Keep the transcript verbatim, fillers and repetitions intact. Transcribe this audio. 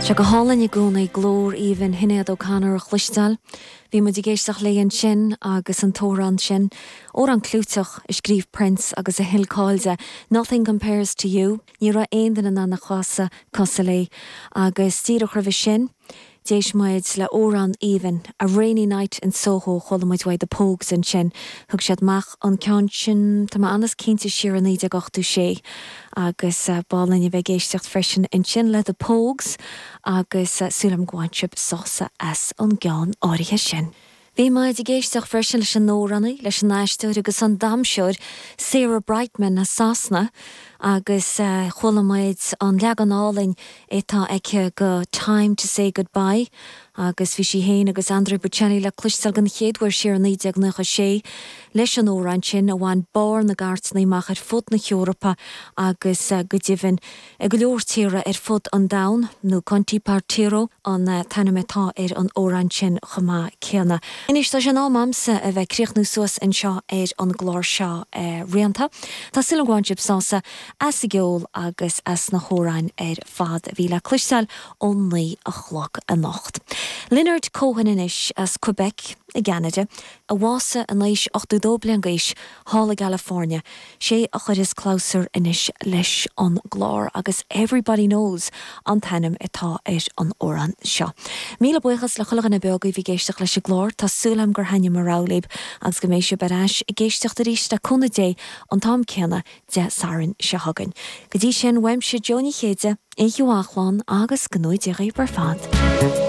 Sé go hálainn i gcónaí glór aoibhinn Shinéad O'Connor a chloisteáil. Bhí muid ag éisteacht léi ansin agus an t-amhrán sin, amhrán clúiteach a scríobh Prince agus a thuill cáil di, Nothing Compares to You, ní raibh aon duine in ann a chasadh cosúil léi, agus díreach roimhe sin, D'éist muid le amhrán aoibhinn a Rainy Night in Soho chuala muid uaidh The Pogues ansin, thug siad amach an ceann sin tá mé an-chinnte siar i naoi déag ochtó sé agus b'álainn a bheith ag éisteacht freisin ansin le The Pogues agus súil agam gur bhain sibh sásamh as an gceann áirithe sin. Bhí muid ag éisteacht freisin leis an amhránaí, leis an aisteoir agus an damhsóir Sarah Brightman as Sasana agus uh, chuala muid an leagan álainn atá aici go Time to Say Goodbye agus bhí sí féin agus Andrea Bocelli le cloisteáil den chéad uair siar naoi déag nócha sé leis an amhrán sin a bhain barr na gcairteanna amach ar fud na hEorpa agus uh, go deimhin i go leor tíortha ar fud an domhain nó Con ti partirò an uh, t-ainm atá ar an amhrán sin chomh maith céanna. Anois tá sé in am agamsa a bheith ag críochnú suas anseo ar an gclár seo uh, rianta. Tá súil agam gur bhain sibh sásamh as an gceol agus as na hamhráin ar fad a bhí le cloisteáil ó naoi a chlog anocht. Leonard Cohen anois as Quebec i gCeanada, a bhásaigh in aois ochtó dó bliain d'aois thall i gCalifornia, sé a chuirfeas clabhsúr anois leis an gclár agus Everybody Knows an t-ainm atá ar an amhrán seo. Míle buíochas le chuile dhuine beo a bhí ag éisteacht leis an gclár tá súil agam gur thaitin mo rogha libh agus go mbeidh sibh ar ais ag éisteacht arís le cúnamh Dé an t-am céanna Dé Sathairn seo chugainn. Go dtí sin uaimse Jó Ní Chéide, oíche mhaith agus go ngnóthaí Dia daoibh ar fad.